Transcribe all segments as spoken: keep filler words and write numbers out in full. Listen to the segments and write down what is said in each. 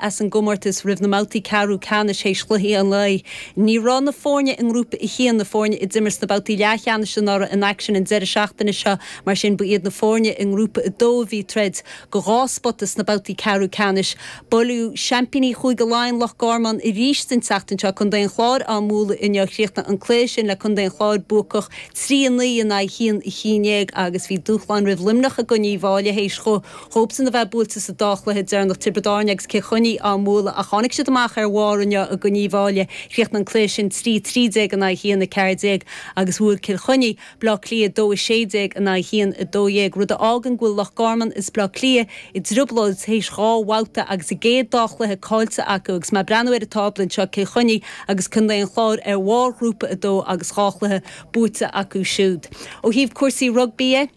As an gcomórtas roimh na mbabhtaí ceathrú ceannais théis chluichí an lae. Ní raibh na foirne i ngrúpa a haon, na foirne a d'imir sna babhtaí leathcheannais anuraidh, in aicsean an deireadh seachtaine seo. Mar sin, ba iad na foirne i ngrúpa a dó a bhí ag troid do dhá spota sna babhtaí ceathrú ceannais. Buaileadh seaimpíní Chúige Laighean, Loch Garman, arís an tseachtain seo, Contae an Chláir á mbualadh inniu. Chríochnaigh an cluiche sin le Contae an Chláir buacach trí a naoi in aghaidh haon a haon déag agus bhí dúshlán roimh Luimneach i gcoinne Uíbh Fhailí théis dhóibhsean a bheith buailte sa dá chluiche deireanach, Tiobraid Árann agus Cill Chainnigh á mbualadh ach tháinig siad amach ar bharr inniu i gcoinne Uíbh Fhailí. Chríochnaigh an cluiche sin trí trí déag in aghaidh haon a ceathair déag agus bhuail Cill Chainnigh Bleá Cliath dó a sé déag in aghaidh haon a dó dhéag, rud a fhágann go bhfuil Loch Garman is Bleá Cliath i dtrioblóid théis dhá bhabhta agus a gcéad dá chluiche caillte acu agus mé ag breathnú ar an tábla anseo, Cill Chainnigh agus Contae an Chláir ar bharr ghrúpa a dó agus dhá chluiche buaite acu siúd. Ó thaobh cúrsaí rugbaí dhe,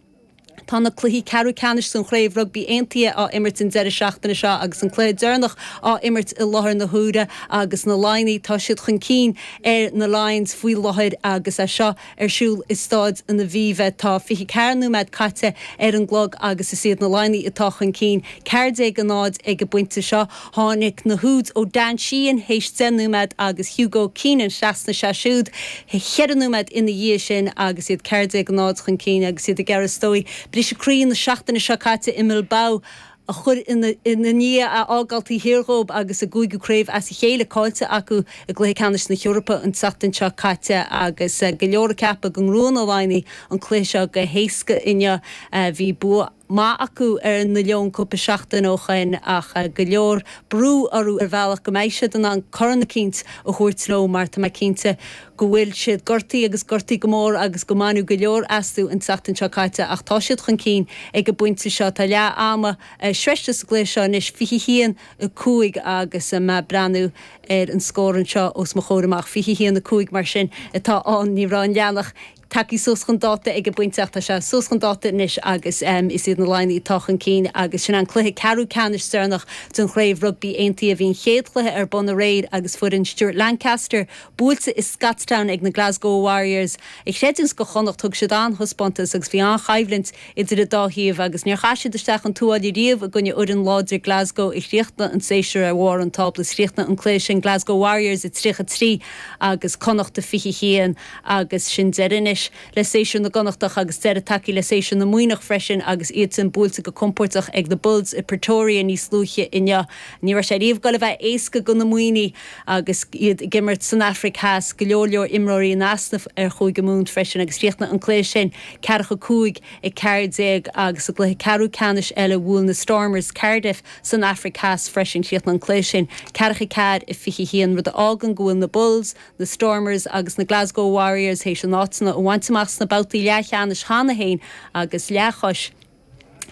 tá na cluichí ceathrú ceannais den Chraobh Rugbaí Aontaithe á imirt an deireadh seachtaine seo agus an cluiche deireanach á imirt i láthair na huaire agus na Laighnigh, tá siad chun cinn ar na Lions faoi láthair agus é seo ar siúl i Staid an Aviva. Tá fiche ceathair nóiméad caite ar an gclog agus is iad na Laighnigh atá chun cinn, ceathair déag a náid ag an bpointe seo. Tháinig na húid ó Dan Sheehan théis deich nóiméad agus Hugo Keenan thrasnaigh sé siúd cheithre nóiméad ina dhiaidh sin agus iad ceathair déag a náid chun cinn agus iad ag iarraidh is dóigh briseadh croí na seachtaine seo caite i mBilbao a chur ina ndiaidh, a fhágáil taobh thiar dhóibh agus a gcúigiú craobh as a chéile caillte acu i gcluiche ceannais na hEorpa an tseachtain seo caite agus go leor ag ceapadh go ngnóthódh na Laighnigh an cluiche seo go héasca inniu. Bhí bua maith acu ar na Leoin cúpla seachtain ó shoin ach go leor brú orthu ar bhealach go mbeidh siad in ann corn eicínt a thabhairt leo mar tá mé cinnte go bhfuil siad gortaithe agus gortaithe go mór agus go mbaineadh go leor astu an tseachtain seo caite ach tá siad chun cinn ag an bpointe seo. Tá leath ama sroichte sa gcluiche seo anois, fiche haon a cúig agus mé ag breathnú ar an scór anseo os mo chomhair amach, fiche haon a cúig mar sin atá ann. Ní raibh an leathanach tagtha suas chun dáta ag an bpointe ach tá sé suas chun dáta anois agus is iad na Laighnigh atá chun cinn agus sin an cluiche ceathrú ceannais deireanach den Chraobh Rugbaí Aontaithe. Bhí an chéad chluiche ar bun aréir agus foireann Stuart Lancaster buailte i Scotstown ag na Glasgow Warriors. A chreidiúint do Chonnacht thug siad an-thaispeántas agus bhí an-choimhlint idir an dá thaobh agus níor chaith siad isteach an tuáille riamh i gcoinne fhoireann láidir Glasgow a chríochnaigh an séasúr ar bharr an tábla. Chríochnaigh an cluiche sin Glasgow Warriors a tríocha trí agus Connacht a fiche haon agus sin deireadh anois le séasúr na gConnachtach agus deireadh tagtha le séasúr na Muimhneach freisin agus iadsan buailte go compordach ag na Bulls i Pretoria níos luaithe inniu. Ní raibh sé riamh ag goil a bheith éasca do na Muimhnigh agus iad ag imirt san Afraic Theas, go leor leor imreoirí in easnamh ar Chúige Mumhan freisin agus chríochnaigh an cluiche sin ceathracha cúig a ceathair déag agus sa gcluiche ceathrú ceannais eile bhuail na Stormers Cardiff san Afraic Theas freisin. Chríochnaigh an cluiche sin ceathracha ceathair a fiche haon, rud a fhágann go bhfuil na Bulls, na Stormers agus na Glasgow Warriors théis a n-áiteanna a bhaint amach sna babhtaí leathcheannais cheana féin agus leathchois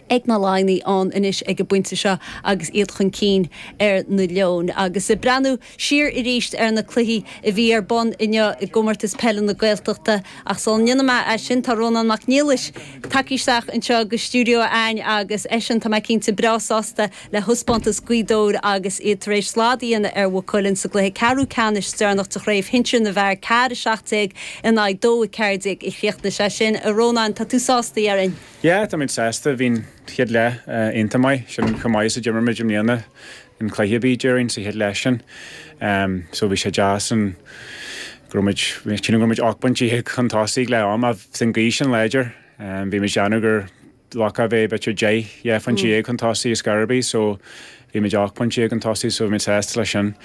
ag na Laighnigh ann anois ag an bpointe seo agus iad chun cinn ar na Leoin. Agus ag breathnú siar arís ar na cluichí a bhí ar bun inniu i gComórtas Peile na Gaeltachta, ach sula ndéanfaidh mé é sin tá Rónán Mac Niallais tagtha isteach anseo go stiúideo a'ainn agus eisean, tá mé cinnte, breá sásta le thaispeántas Ghaoth Dobhair agus iad tar éis slad a dhéanamh ar Mhaigh Cuilinn sa gcluiche ceathrú ceannais deireanach de Chraobh Shinsir na bhFear, ceathair a seacht déag in aghaidh dó a ceathair déag a chríochnaigh sé sin. A Rónáin, tá tú sásta, déarfainn? Yeah, táimid sásta. Bhí an chéad leath iontach maith. Sin chomh maith is a d'imir muid i mbliana in cluiche ar bith, déarfainn, sa chéad leath sin. So bhí sé deas an go raibh muid, sílim go raibh muid ocht bpointe déag chun tosaigh ag leath ama. Bhí an ghaoth sin láidir. Bhí muid ag déanamh gur glacadh a bheith b'fhéidir deich, dhá phointe déag chun tosaigh ar scor ar bith so bhí muid ocht bpointe déag chun tosaigh so bhí muid sásta leis sin.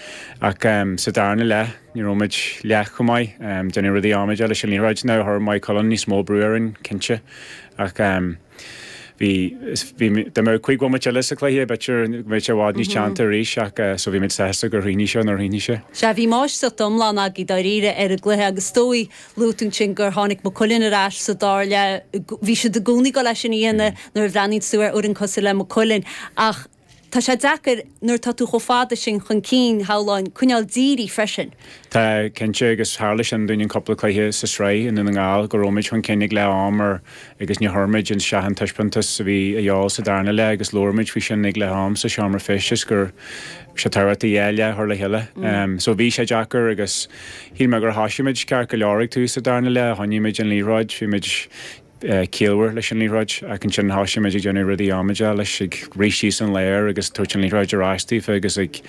Ach sa darna leath ní raibh muid leath chomh maith. Déanamh rudaí amaideach leis an liathróid. Now chuir Maigh Cuilinn níos mó brú orainn cinnte ach bhí, bhí, dá mbeadh cúig bhomaite eile sa chluiche b'fhéidir go mbeadh sé i bhfad níos teannta arís ach so bhí muid sásta gur chríochnaigh sé nuair a chríochnaigh sé. Sea, bhí máistreacht iomlán agaibh dáiríre ar an gcluiche agus is dóigh, luaigh tú ansin gur tháinig Maigh Cuilinn ar ais sa dara leath. Bhí siad i gcónaí ag dul é sin a dhéanamh nuair a bhreathnaíonn tú ar fhoireann cosúil le Maigh Cuilinn ach tá sé deacair nuair atá tú chomh fada sin chun cinn, shamhlóinn, coinneáil dírithe freisin. Tá, cinnte, agus tharla sin dúinn in cúpla cluiche sa sraith i nDún na nGall go raibh muid chun cinn ag leath am ar agus ní chuir muid isteach an taispeántas a bhí a dhíobháil sa darna leath agus labhair muid faoi sin ag leath am sa seomra feistis gur sé tábhachtach dhá leath a chur le chéile. So bhí sé deacair agus shíl mé gur thoisigh muid ceart go leor ag tús sa darna leath, choinnigh muid an liathróid, bhí muid ciallmhar leis an liathróid ach ansin thosaigh muid ag déanamh rudaí amaideacha leis ag rith síos an lár agus tabhairt an liathróid ar ais daofa agus ag